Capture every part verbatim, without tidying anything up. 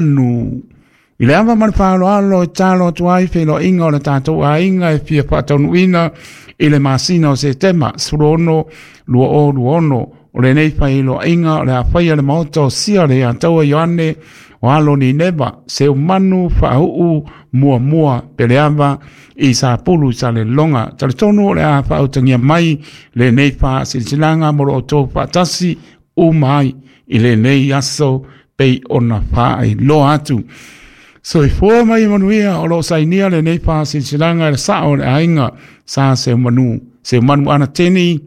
Manu. I le ava ma le faaaloalo e talo atu ai feiloaiga o le tatou aiga e fia faataunuuina i le masina o Setema sefulu ono lua o lua ono. O lenei feiloaiga o le a faia le maota o Sia le Ataua Ioane o alo Nineva Seumanu Faauu Muamua Peleava i Sapulu i Saleloga. Talitonu o le a faautagia mai lenei faasilasilaga mo lo outou faatasi uma ai i lenei aso pei ona faailoa atu. Soifua mai manuia. O lo o sainia lenei faasilasilaga e le sao o le aiga Sa Seumanu, Seumanu Anateni,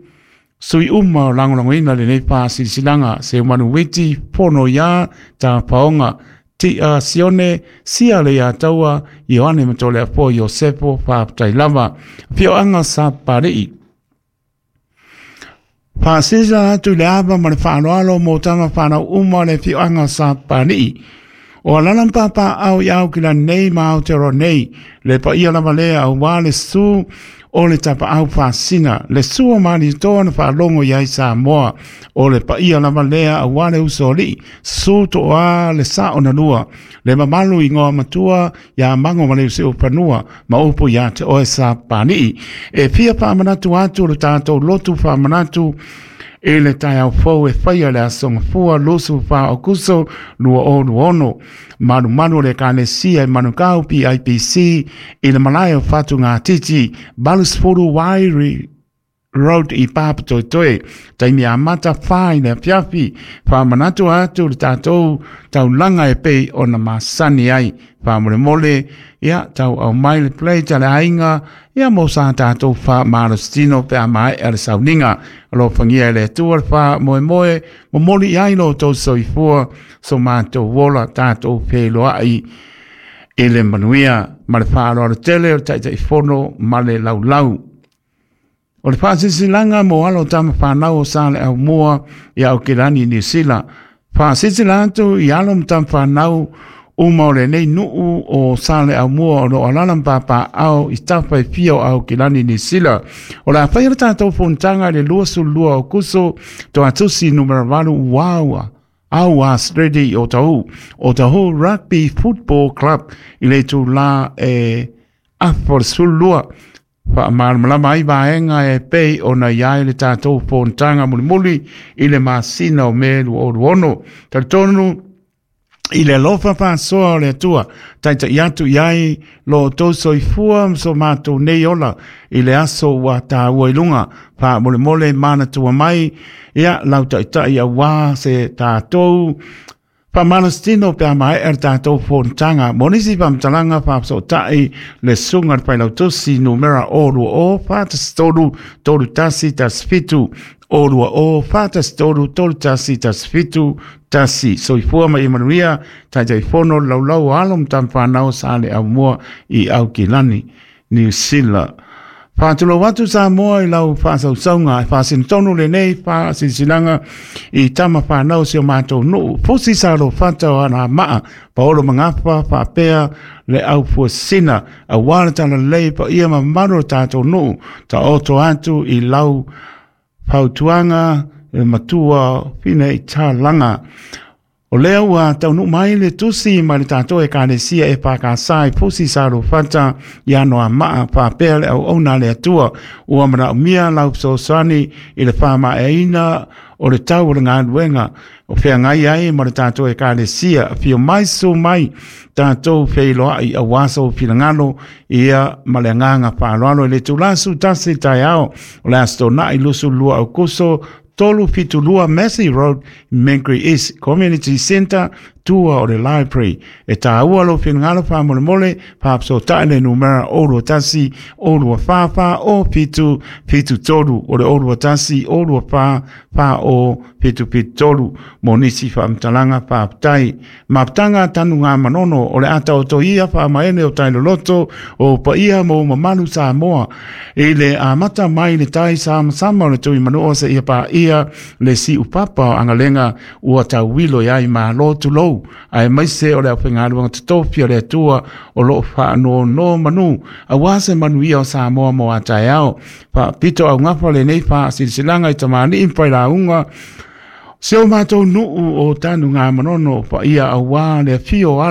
sui uma o lagolagoina lenei faasilasilaga, Seumanu Witi, Fono ia Tapaoga, Tia Sione, Sia le Ataua, Ioane Matoleafoa Iosefo, faafetai lava. Afioaga Sapalii. Faasisa atu i le ava ma le faaaloalo mo tama whanau uma o le afioaga Sapalii. O alala papa au i au kila nei ma Aotearoa nei, le paia lava lea auā le susu o le tapaau faasina, le sua manitoa na faalogo i ai Samoa. O le paia lava lea auā le usoalii, susu toa le sao na lua, le mamalu i ngoa matua ia Mago ma le Usiufanua ma upu ia te oe Sapalii. E fia faamanatu atu le tatou lotu faamanatu i le taeao fou e faia le aso Gafua lusu fa Okuso lua o lua ono. Malumalu o le Ekalesia i Manukau P I P C i le malae o Fatugatiti, valu Wairi Road i Papatoetoe. Taimi amata fa i le afiafi. Faamanatu atu le tatou taulaga e pei ona masani ai. Faamolemole, ia tau au mai le plate a le aiga, ia mo sa tatou faamalositino pe a maea le sauniga. Alofagia e le Atua le faamoemoe momoli i ai lo outou soifua so matou ola tatou feiloai i le manuia ma le faaaloalo tele o le Taitaifono ma le laulau. O le faasilasilaga mo alo o tama fanau o Sa le Aumua i Aukilani Niu Sila. Faasilasila atu i alo ma tama fanau uma o lenei nuu o Sa le Aumua o lo o alala ma papaao i tafa e fia o Aukilani Niu Sila. O le a faia le tatou fonotaga i le luasefulu lua o Okuso, Toatusi numera valu Uaua. Aua Street o Tahu, o Tahu Rugby Football Club i le itulā e afa o le sefulu lua. Faamalamalama ai vaega e pei ona i ai le tatou fonotaga mulimuli i le masina o Me lua o lua ono. Talitonu i le alofa faasoa o le Atua, taitai atu i ai lo outou soifua ma so matou nei ola i le aso ua taua i luga. Faamolemole manatua mai ia lau taitai auā se tatou faamalositino pe a maea le tatou fonotaga. Mo nisi faamatalaga faafesootai le susuga le failautusi numera o lua o fa tasi tolu tolu tasi tasi fitu, o lua o fa tasi tolu tolu tasi tasi fitu tasi. Soifua ma ia manuia. Taitaifono le laulau o alo ma tama fanau Sa le Aumua i Aukilani Niu Sila. Faatulou atu Samoa i lau faasausauga e faasinotonu lenei faasilasilaga i tama fanau si o matou nuu Fusi Salofata o Anoamaa, Paolo Magafa faapea le aufuasina auā le talalelei paia ma mamalu o le tatou nuu. Taoto atu i lau fautuaga le matua Fina i Talaga. O lea ua taunuu mai le tusi mai le tatou Ekalesia e F K S i Fusi Salofata i Anoamaa faapea le auauna a le Atua. Ua manaomia lau fesoasoani i le faamaeaina o le tau o le galuega o feagai ai ma le tatou Ekalesia. Afio mai susu mai tatou feiloai auā sou finagalo ia ma le agaga faaaloalo i le itulā sefulu tasi taeao o le Aso Toonai luasefulu lua Okuso, tolu fitu lua Massey Road, Mangere East Community Centre, tua o le library. E tāua lou finagalo faamolemole, faafesootai le numera o lua tasi o lua fa fa o fitu fitu tolu, o le o lua tasi o lua fa fa o fitu fitu tolu mo nisi faamatalaga. Faafetai. Mafutaga tanu ngā manono o le ata o toia faamaene o tailoloto o paia mo mamalu Samoa i le amata mai le tai samasama o le tui manua seia paia le siupapa o agalega ua tauilo i ai malo tulou aemaise o le aufaigaluega totofi o le Atua o loo faanonomanu auā se manuia o Samoa mo a taeao. Faapito augafa lenei faasilasilaga i tamalii ma failauga Se o matou nuu o Tanugamanono, paia aua le afio o